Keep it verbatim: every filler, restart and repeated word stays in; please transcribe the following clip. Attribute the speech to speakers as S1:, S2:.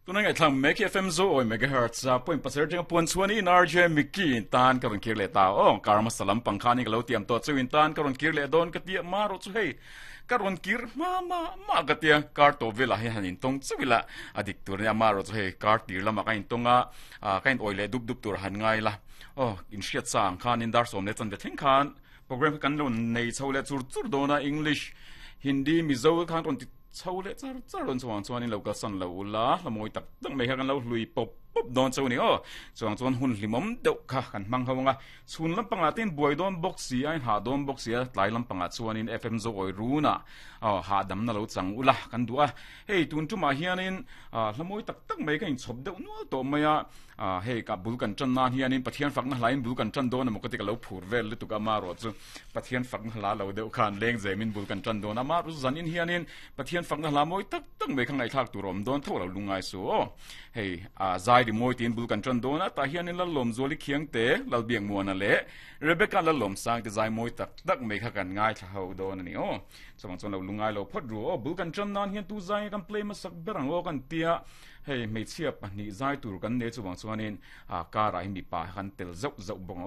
S1: Tuna ngai thlang mek F M zo oi megahertz a point pasar teng puan chuan in R J Mickey tan ka ron kir le ta o karma salam pangkhani ka lo tiam to chu in tan ka ron kir le don ka tia ma ro chu hei ka ron kir ma ma ma ka tia kar to vela he hanin tong chuila adik tur nia ma ro chu hei kar tir lama ka in tonga ka in oile dup dup tur han ngai la o in hriat sang khan in dar som le chan ve thing khan program kan lo nei chho le chur chur dona English Hindi Mizo khan ron ti chho le char char ron chuang chuan in lo ka san lo la lamoi tak tak mai kha kan lo hlui pop pop don chau ni o chuang chuan hun hlimom deuh kha kan mang hawanga chhun lampanga tin buai don box si ai ha don box si tlai lampanga chuan in F M zo oi runa ha dam na lo chang ula kan duwa hei tun tu ma hianin hlamoi tak tak mai ka in chop deuh nual to maya hei ka bul kan chan nan hianin Pathian fak na hlain bul kan chan don mo ka ti ka lo phur vel lu tuka ma ro chu Pathian fak na hla lo deuh khan leng zemin bul kan chan don ama ru zan in hianin Pathian fak na hla moi tak tak mai khangai thak tu rom don tho lo lungai su o hei a zai ri moi tin bul kan chan don ta hianin la lom zoli khiang te lal biang muana le Rebecca la lom sang te zai moi tak tak mai kha kan ngai thla ho don ani o chawang chon lo lungai lo phot ru o bul kan chan nan hian tu zai kan play ma sak berang o kan tia hei mei chia pahnih zai tur kan ne chuwang chuanin a kara hi mi pa han tel zau zau bong o